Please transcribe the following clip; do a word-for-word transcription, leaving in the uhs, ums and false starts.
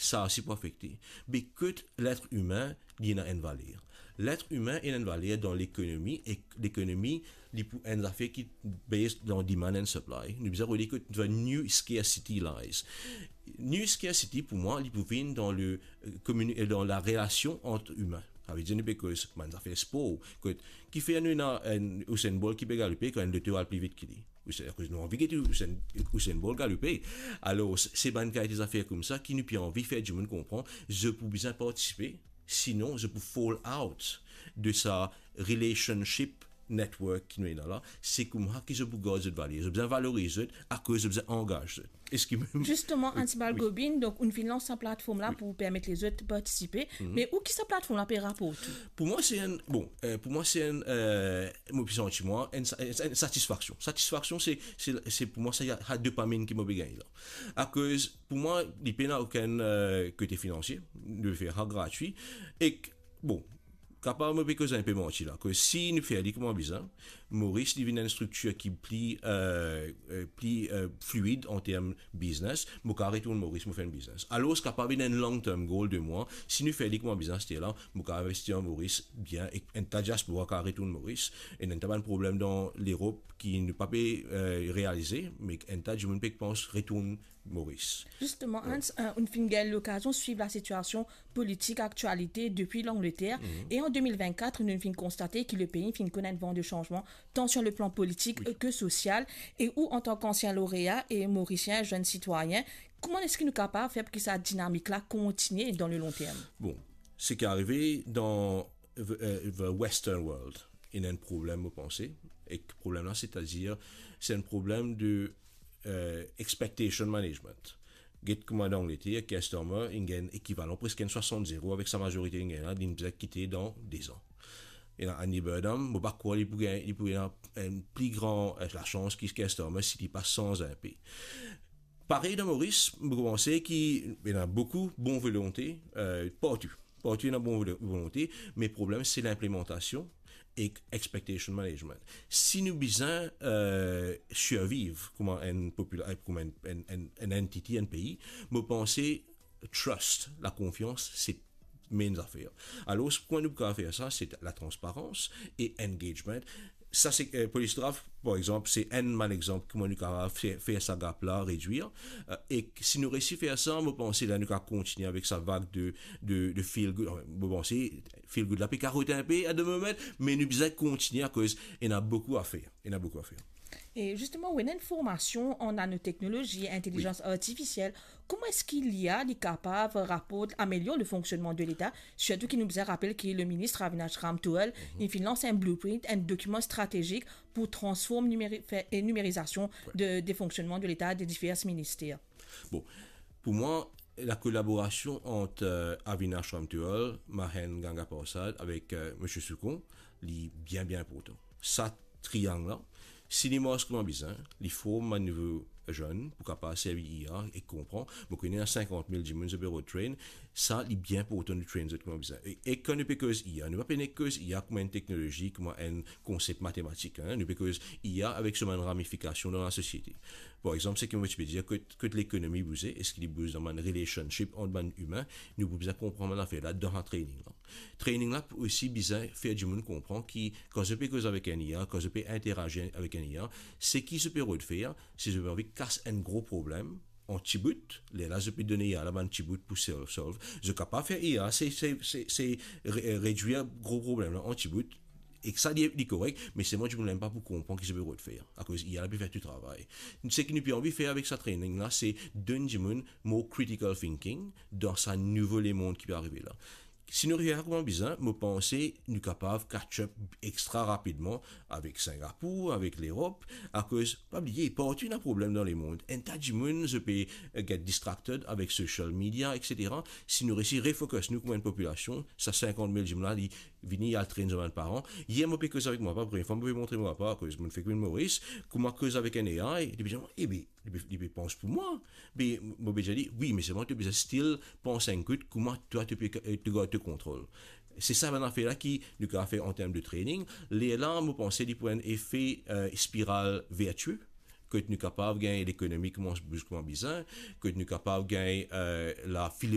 sa osi pou afekte. Be kot letr imin, li ena enn valer. Letr imin ena enn valer dan lekonomi, e lekonomi, li pou enn zafer ki based dan demand and supply. Nou bizin rod kot the new scarcity lies. New scarcity, pou mwa, li pou vinn dan le, euh, komini-, euh, dan la relasion ant imin. Savedir nou pe koz bann zafer spor, kot kifer nou ena enn Usain Bolt ki pe galoupe, kan enn lot al pli vit ki li. Usain, akoz nou anvi get Usain, Usain Bolt galoupe. Alor, se bann kalite zafer koumsa ki nou pe anvi fer dimoun konpran, zot pou bizin partisipe, sinon zot pou fall out de sa relationship network ki nou ena la. Se koumsa ki zot pou gard zot valer. Zot bizin valoriz zot, akoz zot bizin angaz zot. Eski mem Zisteman, Anti Balgobin, donk, ou finn lans sa platform la pou permet lezot partisipe, me ou ki sa platform la pe raport ou? Pou mwa, se enn, bon, euh, pou mwa, se enn, euh, mo pe santi mwa, enn sa-, enn, enn satisfaksion. Satisfaksion, se, se, se pou mwa, sa, sa dopamine ki mo pe gagne la. Akoz, pou mwa, li pena okenn, euh, kote finansie, nou fer sa gratwi, ek, bon, kapav mo pe koz enpe manti la, ke si nou fer li kouma bizin, Moris, li vinn enn striktir ki pli, euh, euh, pli, euh, fluid an term biznes, mo kapav retourn Moris, mo fer enn biznes. Alor, kapav vinn enn long term goal de mwa, si nou fer li kouma biznes, se la, mo kapav investi an Moris bien, ek enn ta diaspora kapav retourn Moris, e enn ta bann problem dan Lerop ki nou pa pe, euh, realize, me enn ta dimoun pe pans retourn Moris. Zisteman, Hans, euh, ou finn gagn lokazion swiv lasitiasion politik aktialite depi Langleter, e an de mil vennkat, nou finn konstate ki lepei finn konn enn van de sanzman, tan sur le plan politik ke sosial, e ou, antan ki ansien lorea e Morisien zenn sitwayin, kouma eski nou kapav fer pou ki sa dinamik la kontinie dan le long term? Bon, seki arive dan the, euh, the Western world, ena enn problem, mo panse, ek problem la, setadir, se enn problem de, euh, expectation management. Get kouma dan Angleter, Keir Starmer, li gagn ekivalan preske enn swasant zero avek sa mazorite li gagn la, li bizin kite dan de zan. Ena Andy Burnham, mo pa krwar li pou gagn, li pou ena enn pli gran, euh, lasans ki Keir Starmer si li pa sanz enpe. Parey dan Moris, mo panse ki ena boukou bon volonte, euh, partou. Partou ena bon volo-, volonte, me problem se linplimantasion ek expectation management. Si nou bizin, euh, sirviv kouma enn popula-, kouma enn, enn, enn, enn entity, enn pei, mo panse trust, lakonfians, se main zafer. Alor, kouma nou kapav fer sa, se latransparans e engagement. Sa se, euh, Police Draft, par exanp, se enn bann exanp kouma nou kapav fer, fer sa gap la redwir. Euh, e si nou resi fer sa, mo panse la nou kapav kontinie avek sa vag de, de, de feel good. Mo panse feel good la pe karot enpe at the moment, me nou bizin kontinie akoz ena boukou a fer. Ena boukou a fer. E zisteman, ou ena enn formasion an nanoteknolozi, intelizans artifisiel, kouma eski l'I A li kapav raport, amelior le fonksionnman de Leta, sirtou ki nou bizin rapel ki le minis Avinash Ramtohul, li finn lans enn blueprint, enn dokiman stratezik pou transform nimeri-, fer, e nimerizasion de, de fonksionnman de Leta, de difer minister? Bon, pou mwa, lakolaborasion ant, euh, Avinash Ramtohul, Mahen Gangaparsad avek, euh, Misie Soukon, li bien, bien inportan. Sa triang la, si li mars kouma bizin, li form bann nouvo zenn pou kapav servi I A e konpran. Mo kone ena sinkant mil dimoun zot pe rod train, sa li bien inportan nou train zot kouma bizin. E, e kan nou pe koz I A, nou pa pe nek koz I A kouma enn teknolozi, kouma enn konsep matematik, hein. Nou pe koz I A avek so bann ramifikasion dan lasosiete. Par exanp, seki mo ti pe dir, kot, kot lekonomi bouze, eski li bouz dan bann relationship ant bann imin, nou pou bizin konpran bann zafer la dan sa training la. Training la pou osi bizin fer dimoun konpran ki, kan zot pe koz avek enn I A, kan zot pe interazir avek enn I A, seki zot pe rod fer, se zot pe anvi kas enn gro problem an ti bout, lerla zot pe donn I A la bann ti bout pou solve, solve. Zot kapav fer I A, se, se, se, se re-, redwir gro problem la an ti bout, ek sa li, li korek, me selman dimoun la mem pa pou konpran ki zot pe rod fer, akoz I A la pe fer tou travay. Seki nou pe anvi fer avek sa training la, se donn dimoun more critical thinking dan sa nouvo lemond ki pe arive la. Si nou fer sa kouma bizin, mo panse nou kapav catch up extra rapidman avek Singapour, avek Lerop, akoz, pa bliye, partou ena problem dan lemond. Enn ta dimoun, zot pe, euh, get distracted avek social media, et cetera. Si nou resi refocus nou kouma enn popilasion, sa sinkant mil dimoun la, li vini al train zot bann paran. Yer mo pe koz avek mo papa, premie fwa mo pe montre mo papa, akoz mo fek vinn Moris, kouma koz avek enn A I, li pe dir, "Ebe, li pe, li pe pans pou mwa." Me mo pe dir li, "Wi, me selman to bizin still pans enn kout kouma twa to pe, eh, to gard to kontrol." Se sa bann zafer la ki nou kapav fer an term de training. Lerla, mo panse li pou enn efe, eh, spiral vertie, kot nou kapav gagn lekonomi koumans bouz kouma bizin, kot nou kapav gagn, eh, lafilozofi